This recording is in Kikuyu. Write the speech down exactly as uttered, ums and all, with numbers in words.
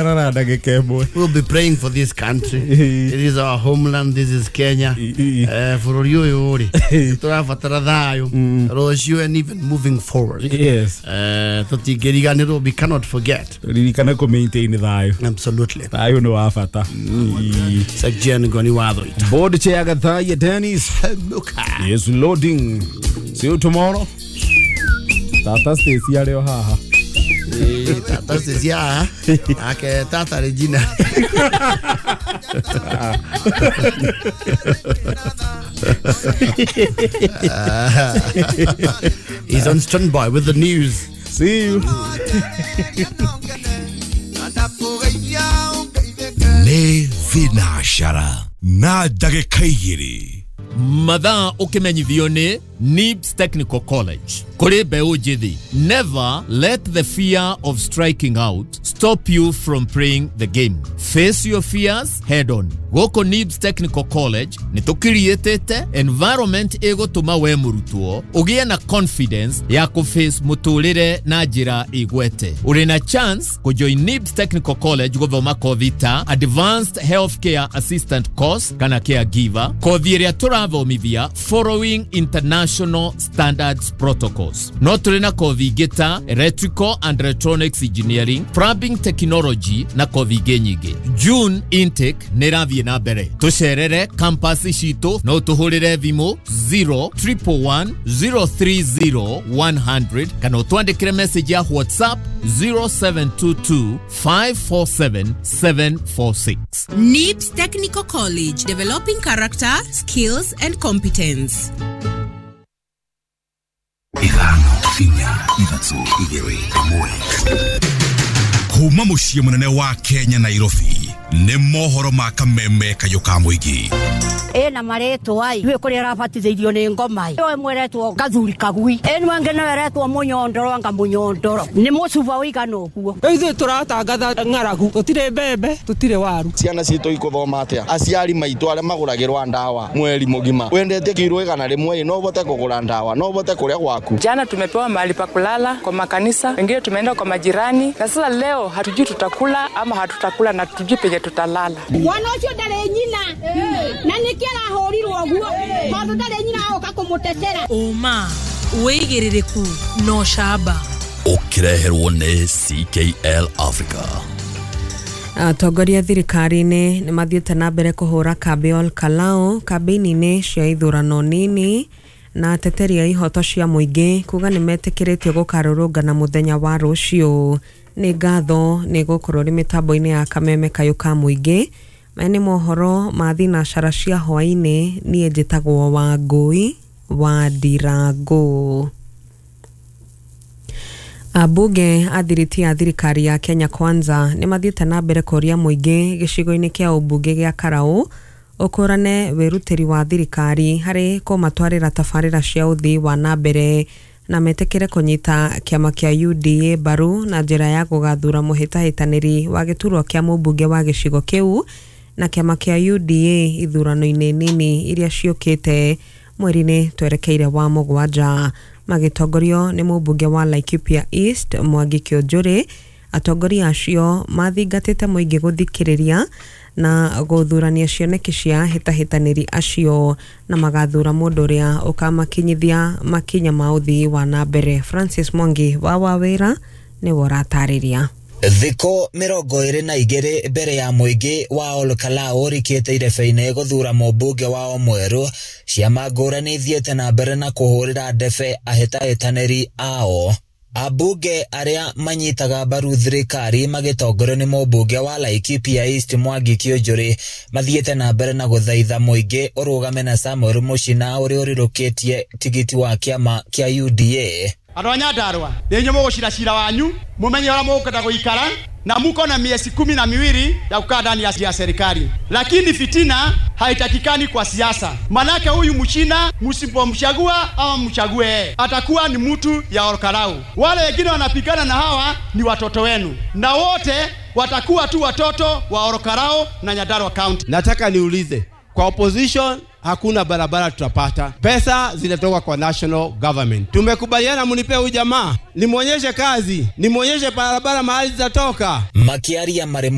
Na ndagĩka ĩmwe. We'll be praying for this country. It is our homeland. This is Kenya. Eh, bũrũri ũyũ rĩ, tũrabatara thayũ rũciũ and even moving forward. Yes. Eh, tũtingĩriganĩrwo, we cannot forget. Ririkana kũ maintain thayũ. Absolutely. Thayũ nĩ wa bata. Section Ngoni Watho ita. Board chair Gathaiya Dennis is loading. See you tomorrow. Tata Stacy arĩ o haha. Eh, Tata Stacy haha. Ake Tata Regina. He's on standby with the news. See you. Nĩ thinacara na ndagĩka igĩrĩ. Mathaa ũkĩmenyithio nĩ Nibs Technical College. Kũrĩ mbeũ njĩthĩ, never let the fear of striking out stop you from playing the game. Face your fears head on. Gũkũ Nibs Technical College nĩ tũkiriĩtĩte environment ĩgũtũma we mũrutwo ũgĩe na confidence ya kũface mũtũrĩre na njĩra ĩgwete. Ũrĩ na chance kũjoin Nibs Technical College gũthoma kothi ta Advanced Healthcare Assistant Course kana Caregiver, kothi ĩrĩa tũrathomithia following international standards protocols. No tũrĩ na kothi ingĩ ta Electrical and Electronics Engineering, Plumbing Technology na kothi ingĩ nyingĩ. June intake nĩ ĩrathiĩ na mbere. Tũcerere campus citũ no tũhũrĩre thimũ zero triple one zero three zero one hundred kana ũtwandĩkĩre message ya WhatsApp zero seven two two five four seven seven four six. Nibs Technical College, developing character, skills and competence. Ithano, inya, ithatũ, igĩrĩ, ĩmwe. Kuma mũciĩ mũnene wa Kenya Nairobi nĩ mohoro ma kameme kayũ ka mũingĩ. Ena marĩtwa ai rĩu kũrĩa arabatithĩirio nĩ ngoma ĩ ĩmwe ĩretwo gathuri kagui ĩno ĩngĩ nayo ĩretwo mũnyondoro anga mũnyondoro nĩ mũcuba ũigana ũguo. Rĩu ithuĩ tũratangatha ng'aragu, tũtirĩ mbembe, tũtirĩ waru. Ciana citũ ikuthoma atĩa? Aciari maitũ arĩa magũragĩrwa ndawa mweri mũgima, wendete kiro igana rĩmwe no ũhote kũgũra ndawa, no ũhote kũrĩa gwaku. Jana tumepewa mahali pa kulala kwa makanisa, wengine tumeenda kwa majirani, na sasa leo hatujui tutakula ama hatutakula na hatujui penye tutalala. Mwana ũcio ndarĩ nyina na nĩkĩ arahũrirwo ũguo tondũ ndarĩ nyina agoka kũmũtetera. Ũma wĩigĩrĩrĩku no camba. Ũkĩreherwo nĩ C K L Africa. Atongoria thirikari-inĩ nĩ mathiĩte na mbere kũhũra kambĩ Ol Kalou kambĩini-inĩ cia ithurano nini na ateteri a ihoto cia mũingĩ kuga nĩ metĩkĩrĩtio gũkarũrũngana mũthenya wa rũciũ. Nĩ ngatho nĩ gũkorwo rĩ mĩtambo-inĩ ya kameme kayũ ka mũingĩ. Maya nĩ mohoro ma thinacara cia hwaĩ-inĩ. Niĩ njĩtagwo Wangũi wa Ndirangũ. Ambunge a thiriti ya thirikari ya Kenya Kwanza nĩ mathiĩte na mbere kũria mũingĩ gĩcigo-inĩ kĩa ũmbunge gĩa Karau ũkũrane wĩrutĩri wa thirikari harĩ kũmatwarĩra tabarĩra cia ũthii wa na mbere na metĩkĩre kũnyita kĩama kĩa U D A mbaru na njĩra ya gũgathura mũhĩtahĩtanĩri wa gĩturwa kĩa mũmbunge wa gĩcigo kĩu na kĩama kĩa U D A ithurano-inĩ nini iria ciũkĩte mweri-inĩ twerekeire wa mũgwanja. Magĩtongorio nĩ mũmbunge wa Laikipia East Mwangi Kĩũnjũrĩ, atongoria acio mathingatĩte mũingĩ gũthikĩrĩria na gũthurania cioneki cia hĩtahĩtanĩri acio na magathura mũndũ ũrĩa ũkamakinyithia makinya ma ũthii wa na mbere. Francis Mwangi wa Wawĩra nĩwe ũratarĩria. Thikũ mĩrongo ĩrĩ na igĩrĩ mbere ya mũingĩ wa Ol Kalou ũrikĩte irebe-inĩ gũthura mũmbunge wao mwerũ, ciama ngũrani ithiĩte na mbere na kũhũrĩra ndebe ahĩtahĩtanĩri ao. Ambunge arĩa manyitaga mbaru thirikari magĩtongorio nĩ mũmbunge wa Laikipia East Mwangi Kĩũnjũrĩ mathiĩte na mbere na gũthaitha mũingĩ ũrũgame na Samuel Mũchina ũrĩa ũrĩrũkĩtie tigiti wa kĩama kĩa U D A. Andũ a Nyandarua nĩ inyuĩ mũgũcira cira wanyu mumenye ũrĩa mũkwenda gũikara na muko na miezi kumi na miwili ya kukaa ndani ya serikali, lakini fitina haitakikani kwa siasa. Manake huyu mchina msipomchagua ama mchague atakuwa ni mtu ya Ol Kalou. Wale wengine wanapigana na hawa ni watoto wenu, na wote watakuwa tu watoto wa Ol Kalou na Nyandarua County. Nataka niulize kwa opposition hakuna barabara tutapata. Pesa zinatoka kwa national government. Tumekubaliana mnipe huyu jamaa, nimwonyeshe kazi, nimwonyeshe barabara mahali zitatoka. Makiaria marĩ.